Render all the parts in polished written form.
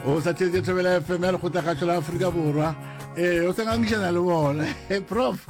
O sa theetše Thobela FM ya Lekgotlakgašo la Afrika Borwa. Ee, o sa ngangišana le bona. Prof,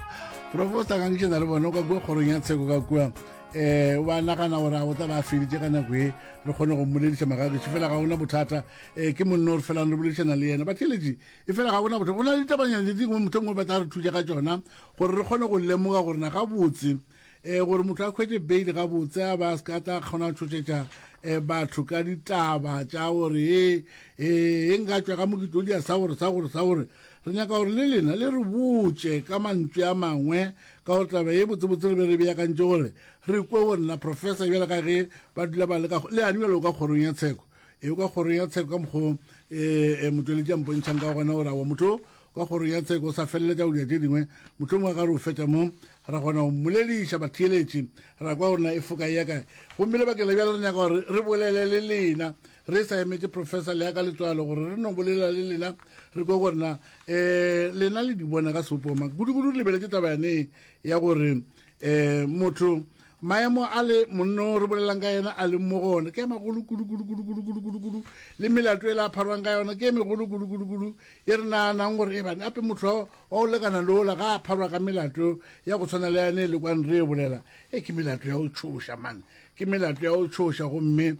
prof o sa ngangišana le bona o ka kua kgorong ya tsheko ka kua. Eh, o ba nagana gore a o tla ba feditše ka nako e re kgone go mmolediša magagešu fela ga ona bothata. Eh, ke monno re felang re boledišana le yena. Batheeletši, e fela ga bona bothata. Go na le ditabanyana tše dingwe motho mongwe ba tla re thuša ka tšona gore re kgone go lemoga gore na gabotse um gore motho a hwetše bail gabotse a ba a se ka tla kgona go tšhošetša um batho ka ditaba tša gore e e nka tšwa ka mokitodia sa gore sa gore sa gore re nyaka gore le lena le re botše ka mantšu a mangwe ka gore taba ye botsebotse re be re beakantše gore re kwe gore na professor bjale ka ge ba dula ba le ka le ane bjalo ka kgorong ya tsheko e ka kgorong ya tsheko ka mokgwa um motšweletši a mpontšhang ka gona gore awa motho Ka kgorong ya tsheko o sa feleletša go dira tše dingwe, mohlomongwe a ka re o fetša mo, ra kgona go mmolediša batheeletši, ra kwa gore na e foka e ya kae. Gomme lebakeng la bjale re nyaka gore re bolele le lena, re sa emetše Professor Leaka Letswalo gore re no bolela le lena, re kwe gore na um lena le di bona ka sebopo mang. Kudu-kudu re lebeletše taba yane ya gore um motho maemo a le monno re bolelang ka yena a leng mo go ona ke a magolo kudu kudu kudu kudu kudu kudu kudu le melato e le a pharwang ka yona ke e megolo kudu kudu kudu e re naganang gore e bane ape motho wa go lekana le ola ga a pharwa ka melato ya go tshwana le yane e le kwane re e bolela e ke melato ya go tšhoša mane ke melato ya go tšhoša gomme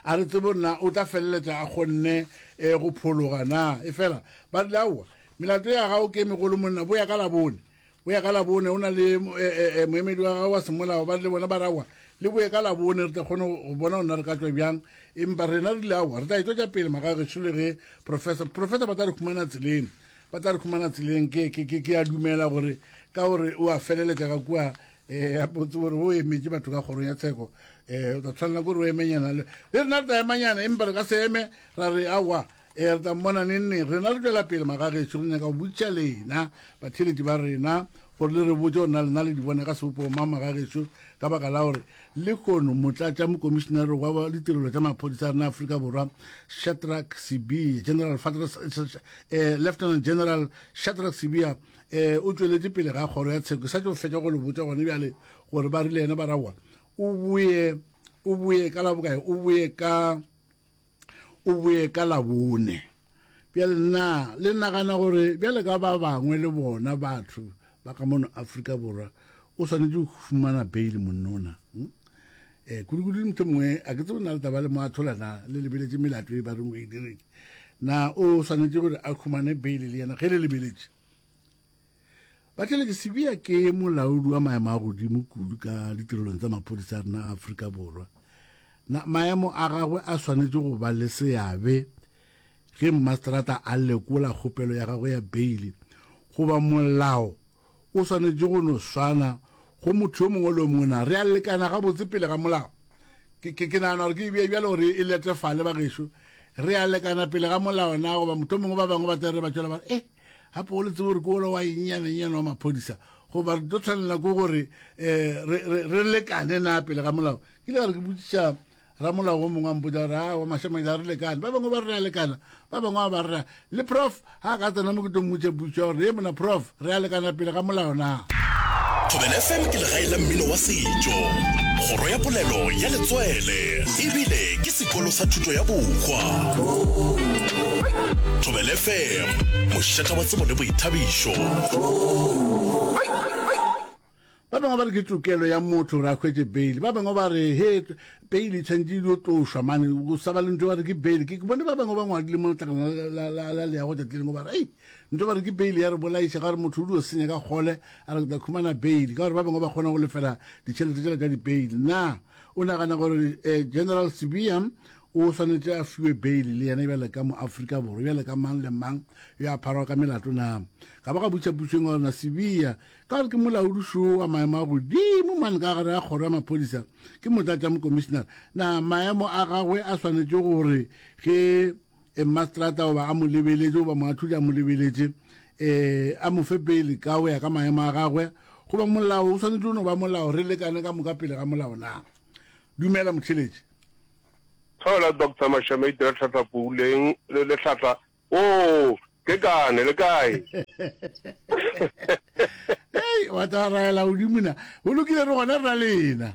a re tsebe gore na o tla feleletša a kgonne um go phologa na e fela ba rile aowa melato ya gago ke e megolo monna boya ka labone O ya ka Labone, o na le eh, eh, eh, moemedi wa gagwe wa semolao, ba le bona ba rawa le boye ka Labone, re tla kgone go bona gona re ka tswa bjang. Empa rena re ile aowa, re tla e tswetša pele magagešo le ge professor, professor ba tla re khumana tseleng, ba tla re khumana tseleng. Ke, ke, ke, ke a dumela gore ka gore o a feleletša ka kua eh, a botse gore o emetše batho ka kgorong ya tsheko eh, o tla tshwanela ke gore o emenyana le le rena re tla emanyana, empa re ka se eme ra re aowa Ee, re tla mmona neng neng. Rena re tšwela pele, magagešo, re nyaka go botšiša lena, batheeletši ba rena, gore le re botše gore na lena le di bona ka sebopego mang, magagešo, ka baka la gore lehono motlatšamokomišenare wa ditirelo tša maphodisa a rena Afrika Borwa, Shadrack Sibiya, General eh, Lieutenant General Shadrack Sibiya, eh, o tšweletše pele ga kgoro ya tsheko. Ke sa tšo fetša go le botša gone bjale gore ba rile yena ba rawa o boye, o boye ka la bokae, o boye ka o boye ka Labone. Bjale na le nagana gore bjale ka ba bangwe le bona batho ba ka mono Afrika Borwa o swanetše go fumana bail monnona? Hmm? Eh, kudu-kudu motho mongwe a ke tsebe na le taba le mo athola na le lebeletše melato e ba reng o e dirile na o swanetše gore a khumane bail le yena ge le lebeletše Batheeletši, Sibiya ke molaodi wa maemo a godimo kudu ka ditirelong tsa maphodisa a rena a Afrika Borwa. Na maemo a gagwe a swanetše go ba le seabe ge mmaseterata a lekola kgopelo ya gagwe ya beile goba molao o swanetše go no swana go motho yo mongwe le yo mongwe? Na re a lekana gabotse pele ga molao? Ke, ke, ke nagana gore ke e bea bjalo gore e letefale bagešo. Re a lekana pele ga molao na goba mohlomongwe ba bangwe ba tla re ba tšwela ba re, eh, gape o le tsebe gore ke ola wa ennyanenyane wa maphodisa goba re tlo tshwanela ke gore um re lekane na pele ga molao ke ile ka re ke botsiša ramolao o mongwe a mpotsa gore a wa mašamaile a re lekane ba bangwe ba re re a lekana ba bangwe ba ba re le prof ga a ka tsena mo ke tlo mmotša putso ya gore ye mona prof re a lekana pele ga molao na Thobela FM ke legae la mmino wa setšo, kgoro ya polelo ya letswele, ebile ke sekolo sa thuto ya bohwa. Thobela FM, mošata wa tsebo le boithabišo. Ba bangwe ba re ke tokelo ya motho gore a hwetše bail, ba bangwe ba re he bail e tshwanetse e dio tlošwa mane go sa ba le ntho ba re ke bail. Ke bone ba bangwe ba ngwadile mo letlakala la, la, la leago tšatši lengwe ba re ei ntho ba re ke bail ya re bolaiša ka gore motho o dio senya ka kgole a re ke tla khumana bail ka gore ba bangwe ba kgona go lefela ditšhelete tšela tša di-bail. Na o nagana gore eh, General Sibiya o swanetše a fiwe bail le yena bjale ka mo-Afrika Borwa bjale ka mang le mang yo a pharwa ka melato na? Ga ba ga butša pušong gore na Sibiya Ka gore ke molaodi šo wa maemo a godimo mane ka gare ga kgoro ya maphodisa, ke motlatšamokomišenare, na maemo a gagwe a swanetše gore ge mmaseterata goba a mo lebeletše goba moahlodi a mo lebeletše um a mo fe peile ka go ya ka maemo a gagwe goba molao o swanetše go no ba molao re lekane ka moka pele ga molao na? Dumela motheeletši. Thola Doctor Mashamaite Letlhatla Puleng le Letlhatla Oo, ke kane, le kae? Hei, wa tla raela godimo na. Go lokile re gona re na lena.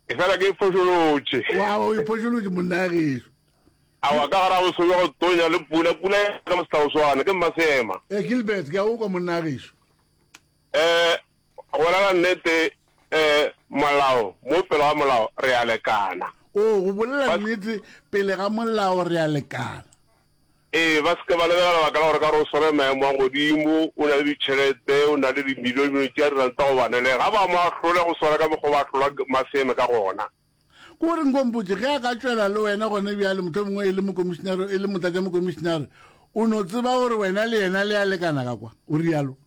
Efela ke iphošolotše. Wa o iphošolotše monna gešo. Aowa, ka gare ga boso bja go tonya le pula, pula ya ka mosehlaoswane, ke mmaseema. Eh, Gilbert, ke a o kwa monna gešo. Eh, go bolela nnete, eh, molao, mo pele ga molao re a lekana. O, go bolela nnete, pele ga molao re a lekana. Ee, ba se ke ba lebelela lebaka la gore ka gore o swere maemo a godimo, o na le ditšhelete, o na le dimilione-milione tša diranta go ba nelega. Ga ba mo ahlole go swana ka mokgwa o ba ahlola Maseme ka gona. Ke gore nko mpotše, ge a ka tšwela le wena gona bjale, mohlomongwe e le mokomišinare, e le motlatšamokomišinare, o no tseba gore wena le yena le a lekana ka kwa? O realo.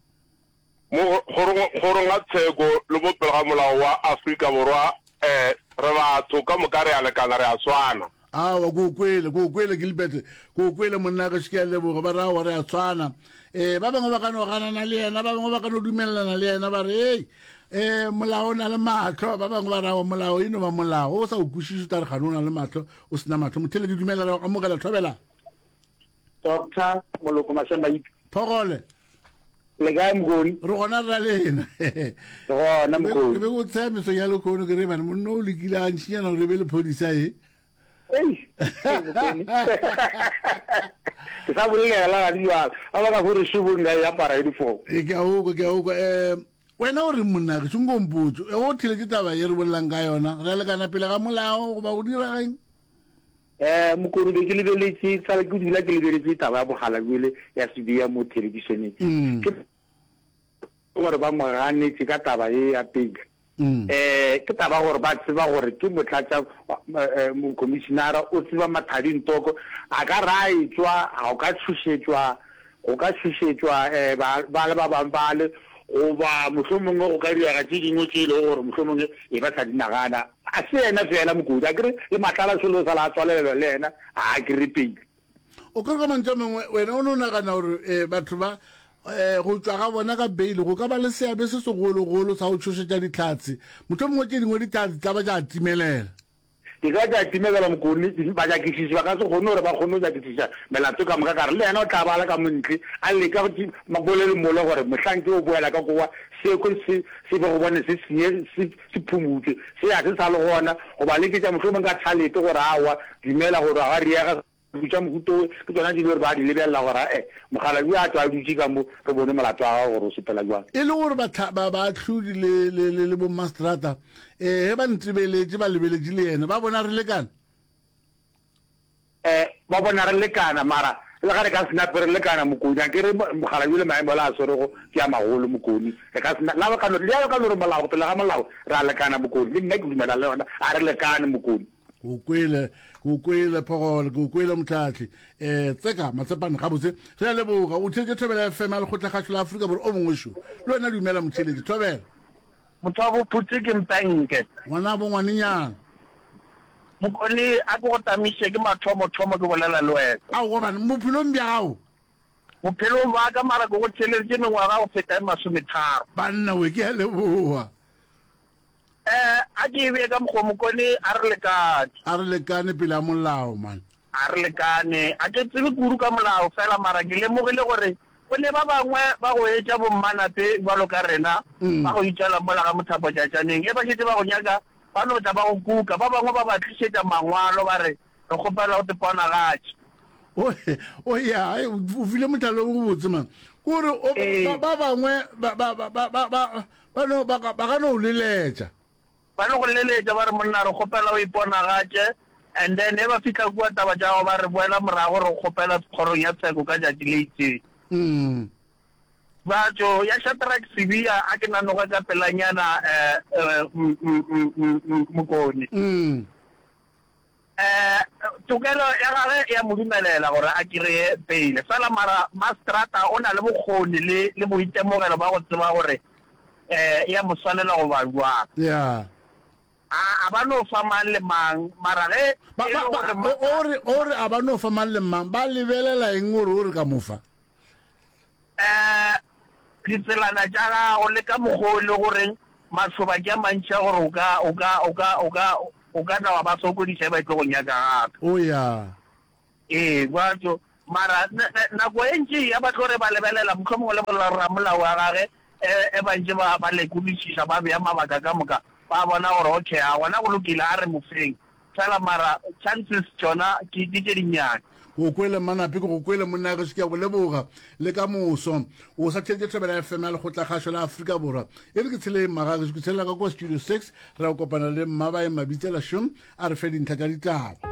Mo kgorong, kgorong ya tsheko le mo pele ga molao wa Afrika Borwa, eh, re batho ka moka re a lekana, re a swana. Aowa, ke o kwele, ke o kwele, Gilbert, ke o kwele, monna gešo, ke a leboga. Ba re, aowa, re a tshwana. Eh, ba bangwe ba ka no ganana le yena, ba bangwe ba ka no dumelelana le yena, ba re, hei, eh, molao o na le mahlo. Ba bangwe ba re, aowa, molao e no ba molao. O sa o kwešiše, o tla re kgane o na le mahlo, o se na mahlo. Motheeletši, dumela, re amogela, thobela. Doctor Moloko Masemaipi. Phogole. Le kae Mokoni? Re gona rra lena. Re gona Mokoni. Ke be go tsaya meso ya lekhono ke re bane monna o lekile a ntšinyana gore e be lephodisa e. Ei, Mokoni. Ke sa bolela ga di jwalo. Ba ba ka gore šobong ka e apara uniform. E ke a okwa, ke a okwa. Eh wena o reng monna ke tšongo mpotso. E o theletše taba ye re bolelang ka yona. Re a lekana pele ga molao goba go dira geng? Eh, Mokoni be ke lebeletše, sale ke dula ke lebeletše taba ya Bogalakwele ya Sibiya mo thelebišeneng. Mm. Ke gore ba mo ganetše ka taba ye ya pele. Mm. Eh, ke taba gore ba tseba gore ke motlatša eh, mokomišinara o tseba Mathadi Ntoko, a ka ra etšwa, a o ka tšhošetšwa, go ka tšhošetšwa eh, ba, ba le ba bangwe bale, goba mohlomongwe go ka direga tše dingwe tše e lego gore mohlomongwe e ba sa di nagana. A se yena feela Mokodi, a kere le Matlala šolo o sala a tswalelelwa le yena, ga a kere pele. O ka re ka mantšu a mangwe, wena o no nagana gore um batho ba um go tšwa ga bona ka beile go ka ba le seabe se segologolo sa go tšhošetša dihlatse, mohlomongwe tše dingwe dihlatse tla ba tša timelela. Di ka tša timegela Mokone, banyakišiši ba ka se kgone gore ba kgone go nyakišiša melato ka moka, ka re le yena o tla ba a le ka mo ntle a leka go bolele mole gore mohlang ke o boela ka kowa sekwe se se be go bone se senye se se phumutšwe se a se sa le gona goba leketša mohlomong ka tshalete gore aowa dumela gore ga riega Dilo tša mohuta wo ke tšona di le gore ba di lebelela gore ae, mokgalabje a tšwa a dutše ka mo, re bone molato wa gagwe gore o sepela bjang. E le gore bahla, ba, baahlodi le, le, le, le bommaseterata, ee, ge ba ntebeletše, ba lebeletše le yena, ba bona re lekana. Ee, ba bona re lekana, mara le ga re ka se nape re lekana, Mokoni, a ke re mokgalabje le maemo le a swerego ke a magolo, Mokoni, re ka se na, la ka no, le ka no re molao, pele ga molao, re a lekana, Mokoni, le nna ke dumela le yona, a re lekane, Mokoni. Ke o kwele, ke o kwele, Phogole, ke o kwele, Mohlahli. Eh, Tseka, Matsepane, gabotse. Re a leboga. O theetše Thobela FM ya Lekgotlakgašo la Afrika Borwa. O mongwe šo. Le wena dumela, motheeletši. Thobela. Motho wa bophutse ke mpenke. Ngwanabo ngwanenyana. Mokoni, a ke go tamiše, ke mathomo-thomo ke bolela le wena. Aowa bana, bophelong bja gago. Bophelong bwa ka, mara ke go theeleditše mengwaga go feta e masometharo. Banna we, ke a leboga. Eh, a ke e bee ka mokgwa Mokone, a re lekane. A re lekane pele a molao, man. A re lekane. A ke tsebe kudu ka molao fela, mara ke lemogile gore go ne ba bangwe ba go etša bommanape bjalo ka rena, ba go itšwela mola ga mothapotšatšaneng. Ge ba šetše ba go nyaka, ba no tla ba go kuka. Ba bangwe ba ba tlišetša mangwalo ba re, Re kgopela o te ponagatše. O, o ya, o file mohlala o mobotse, man. Ke gore o, ba, ba bangwe ba, ba, ba, ba, ba, ba, Ba no, ba ka, ba ka no leletša. Ba no go leletša, ba re, Monna, re kgopela o iponagatše. And then ge ba fihla kua, taba tša gago, ba re, Boela morago, re go kgopela kgorong ya tsheko ka tšatši le itšeng. Mm. Batho, ya Shadrack Sibiya, a ke nanoge ka pelanyana, eh, eh, m, m, m, m, m, Mokone. Mm. Eh, tokelo ya gagwe e a mo dumelela gore a kreye peile. Fela mara mastrata o na le bokgoni le, le boitemogelo ba go tseba gore eh, e a mo swanela goba bjang. Yeah. A, a ba no fa mang le mang, mara ge Ba, e ba, le ba, gore o, o re, o re a ba no fa mang le mang, ba lebelela eng gore o re ka mo fa? um ditselana tša gago le ka mokgwa o e le goreng mašoba ke a mantši a gore o ka, o ka, o ka, o ka, o ka tla wa ba sokodiša e ba e tlo go nyaka gape. O ya. Ee, bjatso. Mara nako e ntši ya ba tlo re ba lebelela, mohlomongwe le ramolao wa gage, e, e ba ntše ba, ba lekodišiša, ba bea mabaka ka moka. Ba bona gore okay, a gona go lokile, a re mo feng. Fela mara chances tšona ke ke tše dinnyane. Ke go kwele Mmanape, ke go kwele monna gešo, ke a go leboga. Le ka moso. O sa theeditše Thobela FM ya Lekgotlakgašo la Afrika Borwa. E re ke tsheleng magagešo, ke tshelela ka kwa Studio 6, re ya go kopana le Mmabae Mabitsela Šom, a re fe dintlha tša ditaba.